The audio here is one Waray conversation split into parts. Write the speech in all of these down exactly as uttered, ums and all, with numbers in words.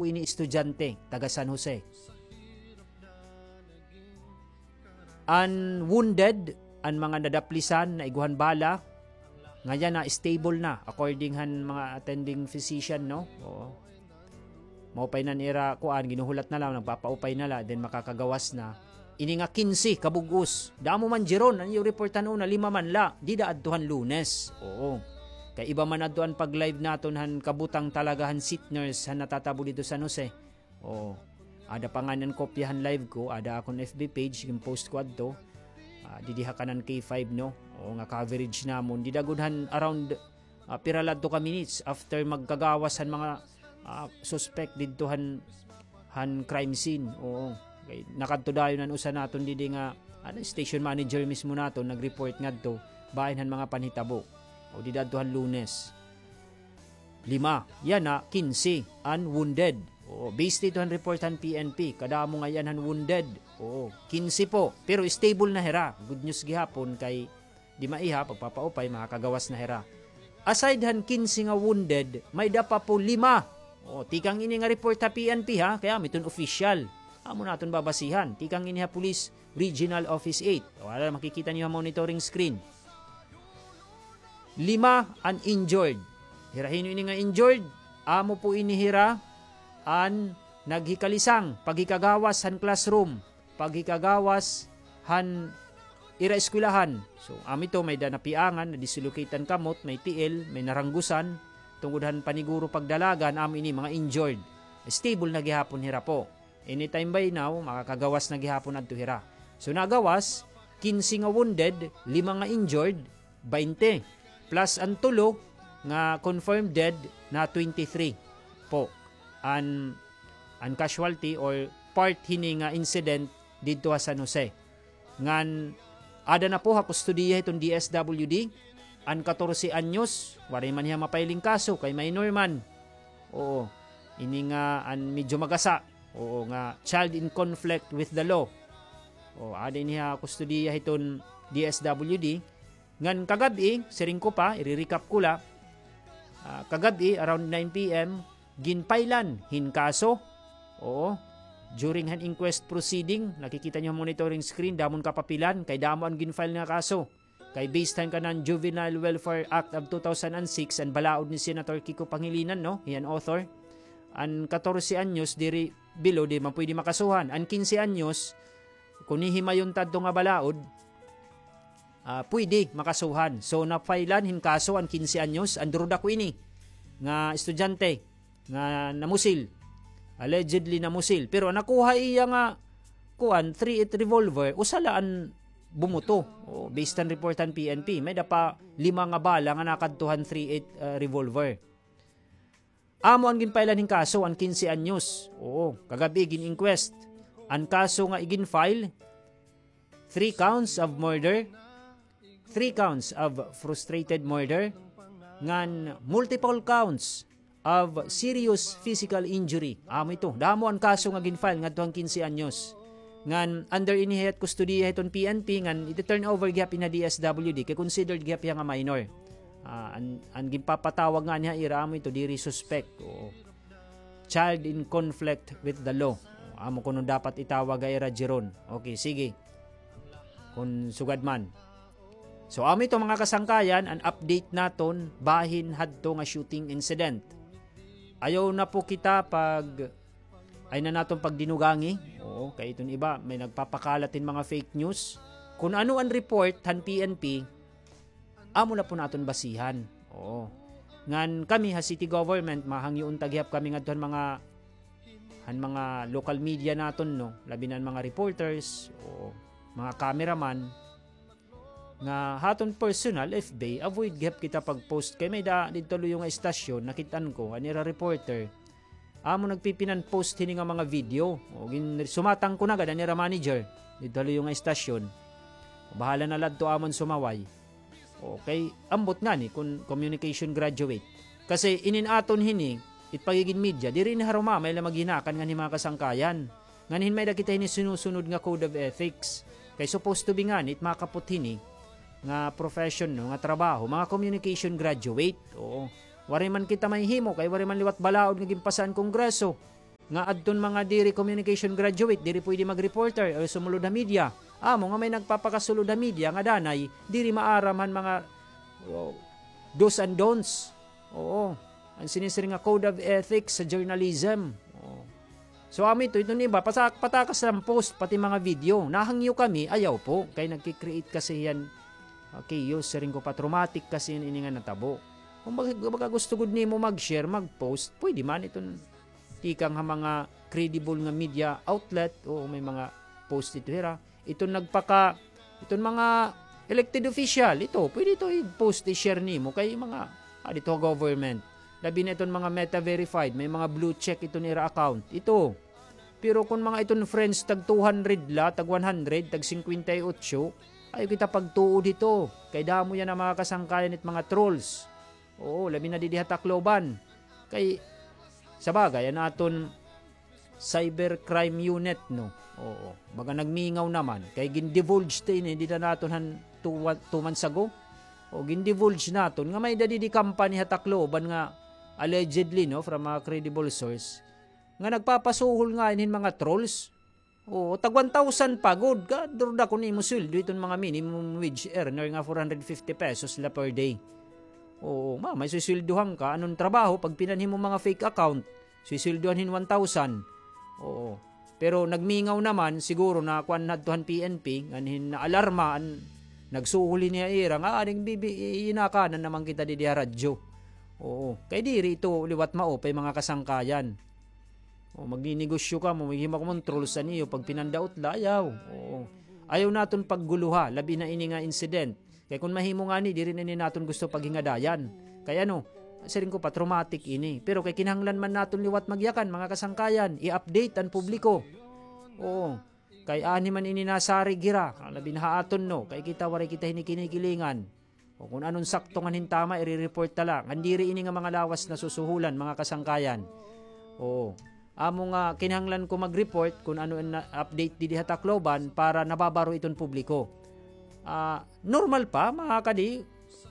ini estudyante, taga San Jose. An wounded, an mga nadaplisan, naiguhan bala, nga yana stable na, according han mga attending physician, no? Oo. Maupay na an ira, kuan, ginuhulat na la, nagpapaupay na la, then makakagawas na. Ini nga kinse ka bug-os. Damo man, Jeron, an iyo report han una, lima man la. Dida adto han Lunes. Oo. Kay iba man adto an pag-live naton han kabutang talaga han seat nurse han natatabo didto San Jose. Oo. Ada pa ngani an kopya han live ko, ada akon F B page, gin-post ko adto. Ah, didi ha kanan K five, no? Oo, nga coverage namon. Dida gud han around, ah, pira la adto ka minutes after magkagawas han mga, ah, suspect didto han, han crime scene. Oo. Kay nakadto dayon an usa naton didi nga, ano, station manager mismo naton nag-report ngadto bahin han mga panhitabo. O, dida adto han Lunes. Lima. Yana, kinse an wounded. Oo, based didto han report han P N P, kadamo ngay-an han wounded. Oo, kinse po. Pero stable na hira. Good news gihapon kay di maiha, pagpapaupay, makakagawas na hira. Aside han kinse nga wounded, may-ada pa po lima. Oo, tikang ini nga report ha P N P ha, kay amo iton official. Amo naton babasihan. Tikang ini ha Police Regional Office eight. O, ada, makikita niyo ha monitoring screen. Lima an injured. Hira hin-o ini nga injured? Amo po ini hira an naghikalisang, paghikagawas han classroom, paghikagawas han ira eskwelahan. So, amo ito, may-ada napiangan, na-dislocate an kamot, may tiil, may naranggusan, tungod han paniguro pagdalagan, amo ini mga injured. Stable na gihapon hira po. Anytime by now, makakagawas na gihapon adto hira. So, nagawas, kinse nga wounded, lima nga injured, baynte. Plus an tulo nga confirmed dead na twenty-three po an, an casualty or part hini nga incident didto ha San Jose. Ngan ada na po ha kustodiya hiton D S W D an katorse anyos, waray man hiya ma-file hin kaso kay minor man. Oo, ini nga an medyo magasa. Oo, nga child in conflict with the law. Oo, ada ini ha kustodiya hiton D S W D. Ngan kagab-i, siring ko pa, iri-recap ko la. Ah, kagab-i, around nine P M, gin-file-an hin kaso. Oo. During han inquest proceeding, nakikita niyo ha monitoring screen, damo an kapapilan, kay damo an gin-file nga kaso. Kay based han kanan Juvenile Welfare Act of two thousand and six, an balaod ni Senator Kiko Pangilinan, no? Hiya an author. An katorse anyos, diri below, di man pwede makasuhan. An kinse anyos, kon hihimayon ta adto nga balaod, ah, pwede makasuhan. So, na-file-an hin kaso an kinse anyos, an durudako ini nga estudyante nga namusil. Allegedly namusil. Pero an nakuha iya nga, kuan, three eight revolver, usa la an bumuto. O, based han report han P N P, may-ada pa lima nga bala nga nakadto han three eight, ah, revolver. Amo an gin-file-an hin kaso, an kinse anyos. Oo, kagab-i gin-inquest. An kaso nga igin-file, three counts of murder, three counts of frustrated murder, ngan multiple counts of serious physical injury. Amo ito. Damo an kaso nga gin-file ngadto han kinse anyos. Ngan under ini hiya it kustodiya hiton P N P, ngan iti-turn over gihap ini ha D S W D, kay considered gihap hiya nga minor. Ah, an, an ginpapatawag ngani ha ira amo ito, diri suspect. Oo. Child in conflict with the law. Amo kuno dapat itawag ha ira, Jeron. Okay, sige. Kon sugad man. So, amo ito, mga kasangkayan, an update naton bahin hadto nga shooting incident. Ayaw na po kita pag, ay na naton pagdinugangi. Oo, kay iton iba, may nagpapakalat hin mga fake news. Kon ano an report han P N P, amo na po naton basihan. Oo. Ngan kami ha city government, mahangyo unta gihap kami ngadto han mga, han mga local media naton, no? Labi na an mga reporters, o mga cameraman, nga ha aton personal F B, avoid gihap kita pag-post. Kay may-ada didto luyo nga estasyon, nakit-an ko, an ira reporter, amo nagpipinan-post hini nga mga video. O, gin-, sumatang ko na gad an ira manager didto ha luyo nga estasyon. Bahala na la adto amo an sumaway. Okay, ambot ngani kon communication graduate. Kasi inin aton hini, it pagigin media, diri ini harumamay la maghinakan nganhi mga kasangkayan. Nganhi may-ada kita hini sinusunod nga code of ethics. Kay supposed to be ngani it makapot hini nga profession, no, nga trabaho, mga communication graduate. Oo. Waray man kita mahihimo kay waray man liwat balaod nga ginpasa an Kongreso. nga adton mga diri communication graduate, diri pwede mag-reporter o sumulod ha media. Amo nga may nagpapakasulod ha media nga danay diri maaram han mga, oh, do's and don'ts. Oo. An sinisiring nga code of ethics sa journalism. Oo. So, amo ito, iton iba, pasa-, patakas la an post, pati mga video. Nahangyo kami, ayaw po. Kay nagki-create kasi hiyan, ah, chaos, siring ko pa, traumatic kasi hiyan ini nga natabo. Kung baga, baga gusto gud nimo mag-share, mag-post, pwede man iton tikang ha mga credible nga media outlet, o may mga post ito hira. Iton nagpaka-, iton mga elected official, ito, pwede ito i-post, i-share nimo kay mga, ah, dito ha government. Labi na iton mga Meta verified, may mga blue check iton ira account. Ito. Pero kun mga iton friends, tag two hundred la, tag one hundred, tag singkwenta y otso, ayaw kita pagtuo dito. Kay damo yana mga kasangkayan it mga trolls. Oo, labi na didi ha Tacloban. Kay, sa bagay, an aton cybercrime unit, no? Oo, baga nagmingaw naman. Kay gin-divulge ta ini, dida naton han two, two months ago. O, gin-divulge naton nga may-ada didi company ha Tacloban nga allegedly, no, from a credible source, nga nagpapasuhol nga hin mga trolls. Oo, tag one thousand pa gud. Ka, durda kun imo sweldo iton mga minimum wage earner nga four hundred fifty pesos la per day. Oo, ma, may susweldohan ka, anon trabaho, pag pinanhi mo mga fake account, susweldohan hin one thousand. Oo. Pero nagmingaw naman, siguro na kuan hadto han P N P, ngan hin naalarma, an, nagsuhol hini ha ira, nga, ah, aning bibi, i-, inakanan naman kita didi ha radyo. Oo. Kay diri ito liwat maupay mga kasangkayan. O, magninegosyo kamo, maghimo kamo hin trolls an iyo, pag pinandaot la, ayaw. Oo. Ayaw naton pagguluha, labi na ini nga incident. Kay kun mahimo ngani, diri na ini naton gusto paghingadayan. Kay ano, siring ko pa, traumatic ini. Pero kay kinahanglan man naton liwat magyakan, mga kasangkayan, i-update an publiko. Oo. Kay ani man ini nasarig hira, labi na ha aton, no? Kay kita, waray kita hini kinikilingan. O kun anon sakto ngan hin tama, ire-report ta la. Ngan diri ini nga mga lawas nasusuhulan, mga kasangkayan. Oo. Amo nga kinahanglan ko mag-report kun ano an na-, update didi ha Tacloban para nababaro iton publiko. Ah, normal pa, mga kadi,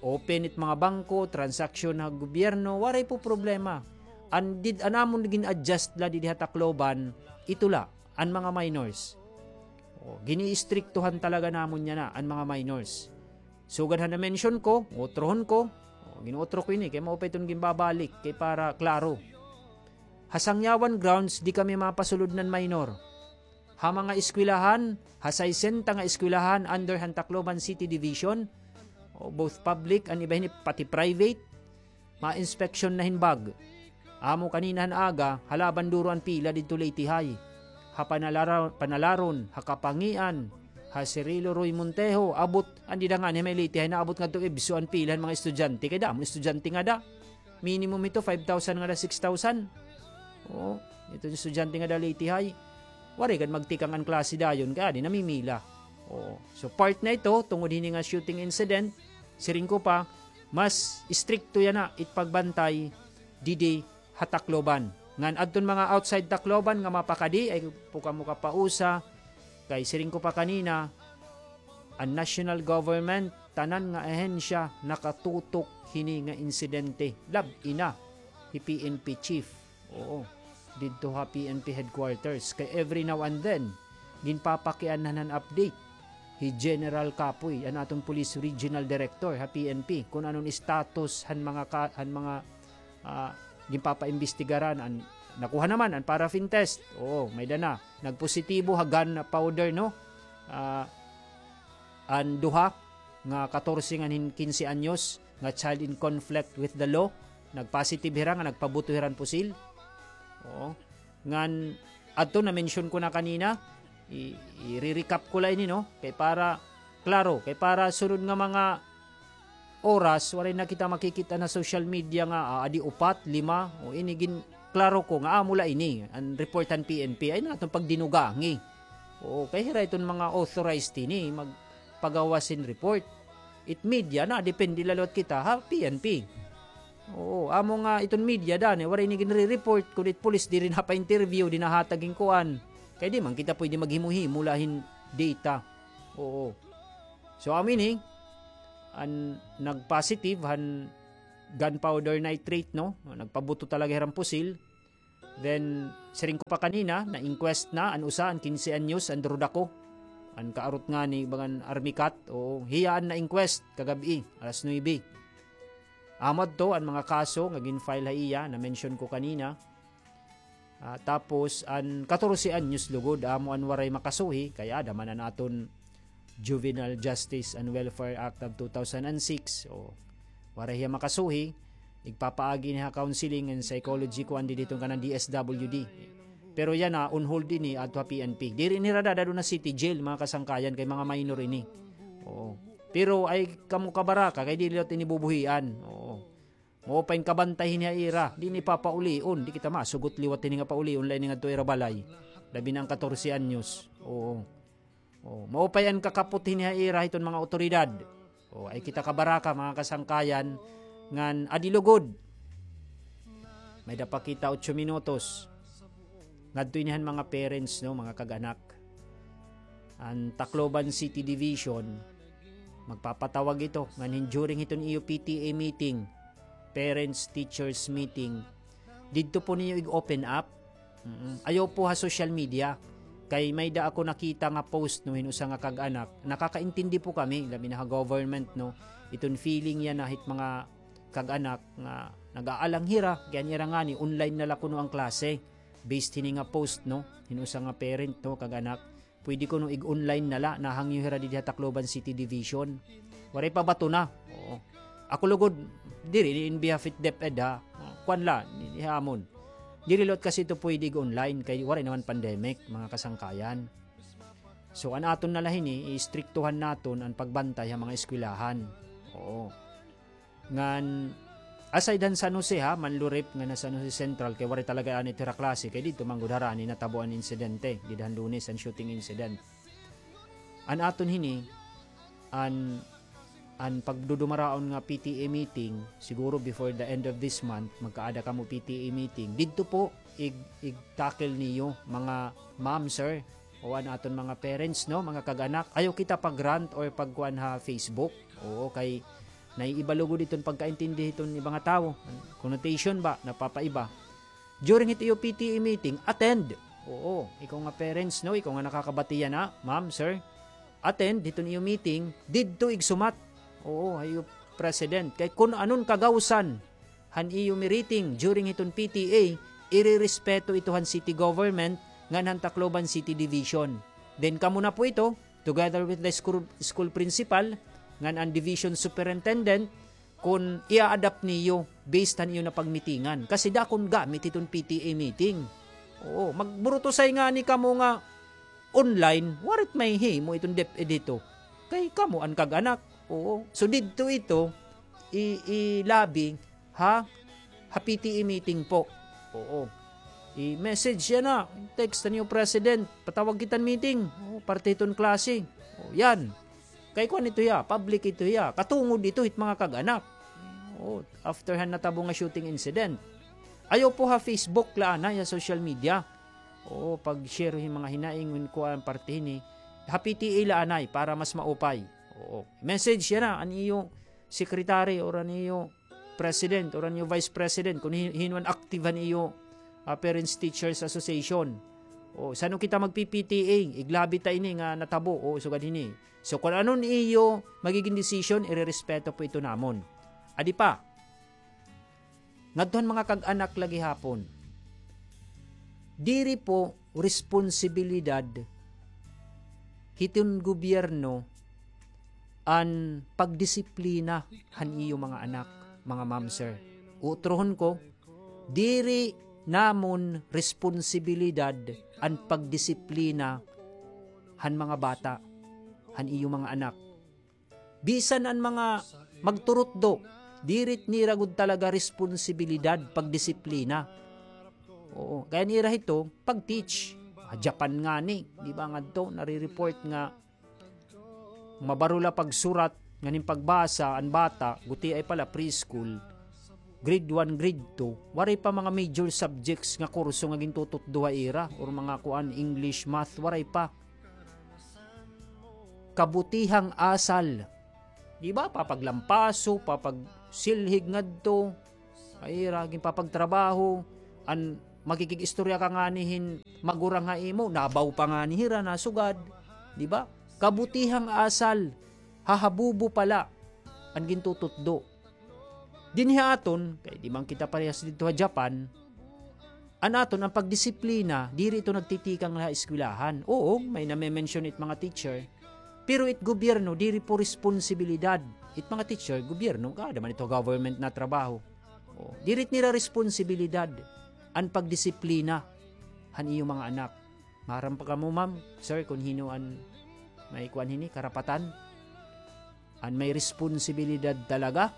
open it mga bangko, transaksyon ha gobyerno, waray po problema. An did-, an amon gin-adjust la didi ha Tacloban, ito la, an mga minors. O, gini-istriktuhan talaga namon yana an mga minors. Sugad han na-mention ko, utrohon ko, o, gin-utro ko ini, kay maupay iton ginbabalik, kay para klaro. Ha Sangyawan grounds, di kami mapasulod nan minor. Ha mga eskwelahan, ha saysenta nga eskwelahan under han Tacloban City Division, o, both public and iba hini, pati private, ma-inspeksyon na hin bag. Amo kanina han aga, ha Laban duro an pila didto Leyte High. Ha Panalara-, Panalaron, ha Kapangian, ha Cirilo Roy Montejo, abot, an dida ngani ha may Leyte High, naabot ngadto Ibso an pila han mga estudyante. Kay damo estudyante ngada. Minimum ito, five thousand ngada, six thousand. Oo, ito an estudyante ngada Leyte High. Waray gad magtikang an klase dayon, kay adi namimila. Oo. So, part na ito, tungod hini nga shooting incident, siring ko pa, mas istrikto yana it pagbantay didi ha Tacloban. Ngan adton mga outside Tacloban nga mapakadi, ayaw po kamo kapausa, kay siring ko pa kanina, an national government, tanan nga ahensya nakatutok hini nga insidente. Lab-i na hi P N P chief. Oo. Didto ha P N P headquarters. Kay every now and then, ginpapakianhan han update hi General Capoy, an aton Police Regional Director ha P N P, kun anon status han mga ka-, han mga, ah, ginpapaimbestigaran. An, nakuha naman an paraffin test. Oo, may-ada na. Nagpositibo ha gunpowder, no? Ah, an duha nga katorse ngan hin kinse anyos nga child in conflict with the law. Nagpositive hira nga nagpabuto hira hin pusil. Oo. Ngan adto, na-mention ko na kanina, i-, i-recap ko la ini, no? Kay para klaro, kay para sunod nga mga oras, waray na kita makikita na social media nga, ah, adi upat, lima, o ini gin-, klaro ko nga amo la ini, an report han P N P, ayaw naton pagdinugangi. Oo, kay hira iton mga authorized hini magpagawas hin report. It media na, depende la liwat kita ha P N P. Oo, amo nga iton media, dani, waray ini ginre-report, kun it pulis diri napa-interview, di nahatag hin kuan. Kay di man kita pwede maghimo-himo la hin data. Oo. So, amo ini, an nagpositive han gunpowder nitrate, no? Nagpabuto talaga hira hin pusil. Then, siring ko pa kanina, na-inquest na an usa, an kinse anyos, an druda ko. An kaarot ngani, bagan army cat, oo, hiya an na-inquest kagab-i, alas nuebe. Amo adto an mga kaso nga gin-file ha iya, na-mention ko kanina. Ah, tapos, an katorse anyos lugod, amo an waray makasuhi, kay ada man an aton Juvenile Justice and Welfare Act of two thousand and six. O, waray hiya makasuhi, igpapaagi ni ha counseling and psychology kuan didi hiton kanan D S W D. Pero yana, on hold ini adto ha P N P. Diri ini ra dadad-on ha city jail, mga kasangkayan, kay mga minor ini. Oo. Pero ay kamo kabaraka, kay diri liwat ini bubuhian. Oo. Maupay nga kabantay hini ha ira, di ini papaulion, di kita masugot liwat hini nga paulion, la ini ngadto ira balay. Labi na an katorse anyos. Oo. Oo. Maupay an kakapot hini ha ira hiton mga awtoridad. Oo, ay kita kabaraka, mga kasangkayan, ngan adi lugod. May-ada pa kita otso minutos. Ngadto ini han mga parents, no, mga kag-anak. An Tacloban City Division, magpapatawag ito, ngan hin-, during hiton iyo P T A meeting, parents, teachers meeting, didto po niyo ig-open up. Mm-mm. Ayaw po ha social media. Kay may-ada ako nakita nga post, no, hin usa nga kag-anak. Nakakaintindi po kami, labi na ha government, no. Iton feeling yana hit mga kag-anak nga nag-aalang hira, kay an ira ngani, online na la kuno an klase. Based hini nga post, no, hin usa nga parent, no, kag-anak. Pwede kuno ig-online na la, nahangyo hira didi ha Tacloban City Division. Waray pa bato na. Oo. Ako lugod, diri, in behalf it DepEd, ha. Kuan la, ni, ni hamon. Diri liwat kasi ito pwede ig-online, kay waray naman pandemic, mga kasangkayan. So, an aton na la hini, istriktuhan naton an pagbantay ha mga eskwelahan. Oo. Ngan, aside han San Jose, ha, Manlurip ngan ha San Jose Central, kay waray talaga anay it ira klase, kay didto man gud harani natabo an insidente, dida han Lunes, an shooting incident. An aton hini, an, an pagdudumaraon nga P T A meeting, siguro before the end of this month, magkaada kamo P T A meeting. Didto po, ig-, ig-tackle niyo, mga ma'am, sir, o an aton mga parents, no, mga kag-anak. Ayaw kita pag-rant or pagkuan ha Facebook. Oo, kay naiiba lugod iton pagkaintindi hiton iba nga tawo. Connotation ba, napapaiba. During hit iyo P T A meeting, attend. Oo, ikaw nga parents, no, ikaw nga nakakabati yana, ma'am, sir, attend hiton iyo meeting, didto igsumat. Oo, ha iyo president. Kay kun anon kagawsan han iyo meeting during hiton P T A, irerespeto ito han city government ngan han Tacloban City Division. Then kamo na po ito, together with the school, school principal, ngan an division superintendent, kun i-adapt niyo based han iyo napagmitingan. Kasi dakon gamit hiton P T A meeting. Oo, magburutusay ngani kamo nga online, waray it mahihimo iton DepEd hito. Kay kamo an kag-anak. Oo. So, didto ito, i-, i-lobby, ha? Ha P T A meeting po. Oo. I-message yana, text han iyo president, patawag kita hin meeting. Oo, parte hiton klase. Oo, yan. Kay kuan ito hiya, public ito hiya. Katungod ito hit mga kag-anak. Oo, after han natabo nga shooting incident. Ayaw po ha Facebook la anay, ha social media. Oo, pag-share hin mga hinaing, kuan, parte hini. Ha P T A la anay para mas maupay. Oo. Message yana an iyo secretary or an iyo president or an iyo vice president kun hin-, hin-o an active han iyo, ah, Parents Teachers Association. O, san-o kita magpi-P T A, iglabi ta ini nga natabo, o, sugad hini. So, kun ano an iyo magiging decision, irerespeto po ito namon. Adi pa, ngadto han mga kag-anak la gihapon. Diri po responsibilidad hiton gobyerno an pagdisiplina han iyo mga anak, mga ma'am, sir. Utrohon ko, diri namon responsibilidad an pagdisiplina han mga bata, han iyo mga anak. Bisan an mga magturutdo, diri it nira gud talaga responsibilidad pagdisiplina. Oo, kay an ira hito, pag-teach. Ah, Japan ngani, di ba, ngadto, nare-report nga mabaro la pagsurat, ngan hin pagbasa, an bata, gutiay pa la preschool, grade one, grade two, waray pa mga major subjects nga kurso nga gintututdo ha ira, or mga kuan, English, math, waray pa. Kabutihang asal. Di ba? Papaglampaso, papagsilhig ngadto. Ay, ira, ginpapagtrabaho. An, makikig-istorya ka ngani hin magurang ha imo, nabaw pa ngani hira, nasugad, di ba? Kabutihang asal, hahabubo pala an gintututdo. Dinhi ha aton, kay di man kita parehas didto ha Japan, an aton, an pagdisiplina, diri ito nagtitikang la ha eskwelahan. Oo, may name-mention it mga teacher, pero it gobyerno, diri po responsibilidad. It mga teacher, gobyerno, kada man ito government na trabaho. O, diri it nira responsibilidad an pagdisiplina han iyo mga anak. Maaram pa kamo, ma'am, sir, kun hin-o an may kuan hini, karapatan? An may responsibilidad talaga,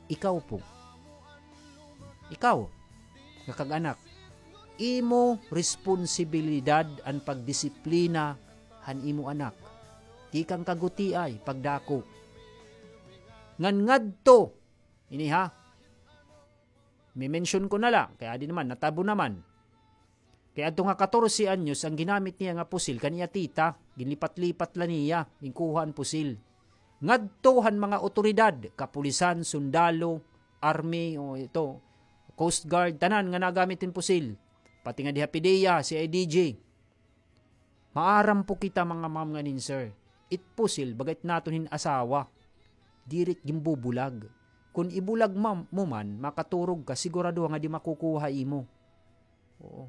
ikaw po. Ikaw, nga kag-anak, imo responsibilidad an pagdisiplina han imo anak. Tikang kagutiay, pagdako. Ngan ngadto, ini ha, me-mention ko na la, kay adi naman, natabo naman. Kay adto nga katorse anyos, an ginamit niya nga pusil, kan iya tita, ginlipat-lipat la niya, ginkuha an pusil. Ngadto han mga otoridad, kapulisan, sundalo, army, o ito, Coast Guard, tanan nga nagamit hin pusil. Pati nga diha PDEA, CIDG. Maaram po kita, mga ma'am ngan hin sir. It pusil, baga it naton hin asawa. Diri it ginbubulag. Kun ibulag ma-, mo man, makaturog ka, sigurado nga di makukuha imo. Oo.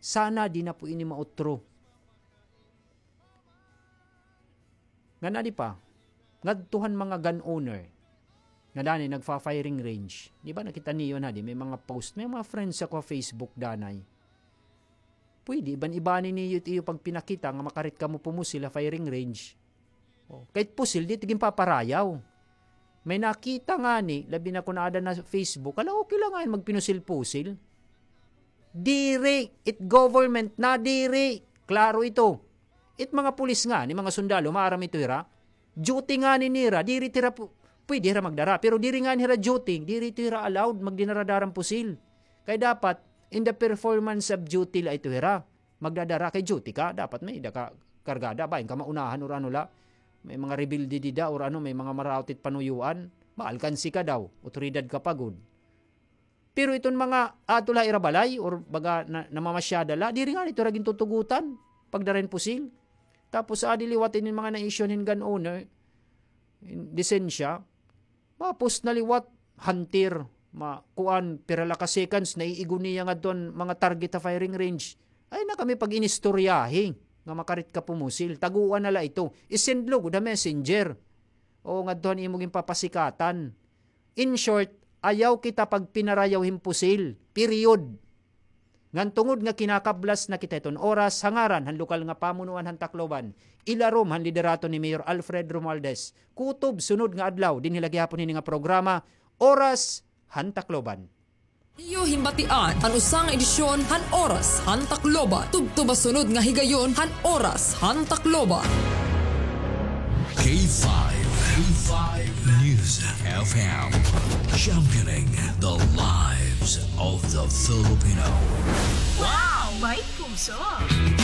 Sana di na po ini mautro. Ngan adi pa, ngadto han mga gun owner nga danay nagfa-firing range. Di ba nakita niyo na, di, may mga post, may mga friends ako ha Facebook danay. Pwede iban-ibani niyo it iyo pagpinakita nga makarit kamo pumusil ha firing range. O, kay it pusil, diri ito ginpaparayaw. May nakita ngani, labi na kun aada na Facebook, hala, okay la ngani magpinusil-pusil. Diri, it government na diri. Klaro ito. It mga pulis ngani, mga sundalo, maaram ito hira. Duty ngani nira, diri ito hira pu-, pwede hira magdara. Pero diri ngani hira duty, diri ito hira allowed magdinara-dara hin pusil. Kay dapat, in the performance of duty la ito hira. Magdadara kay duty ka, dapat may-ada ka kargada, bangin ka maunahan or ano la. May mga rebelde dida or ano, may mga maraot it panuyuan, maalkansi ka daw, otoridad ka pa gud. Pero iton mga adto la ha ira balay or baga na, namamasyada la, diri ngani ito hira gintutugotan pagdara hin pusil. Tapos adi liwat ini mga na-issue hin gun owner, hin lisensya, ma-post na liwat, hunter, ma-, kuan, pira la ka seconds, naiigo niya ngadto an mga target ha firing range. Ay na kami pag-inistoryahi nga makarit ka pumusil. Tagoa na la ito. I-send lo gud ha messenger. O ngadto han imo ginpapasikatan. In short, ayaw kita pagpinarayaw hin pusil. Period. Ngan tungod nga kinakablas na kita hiton oras, ha ngaran han lokal nga pamunuan han Tacloban, ilarom han liderato ni Mayor Alfred Romualdez, kutob sunod nga adlaw dinhi la gihapon hini nga programa, Oras han Tacloban. Iyo himbatian an usa nga edisyon han Oras han Tacloban. Tubtob ha sunod nga higayon han Oras han Tacloban. K five, K five News F M, championing the lives of the Filipino. Wow! May puso!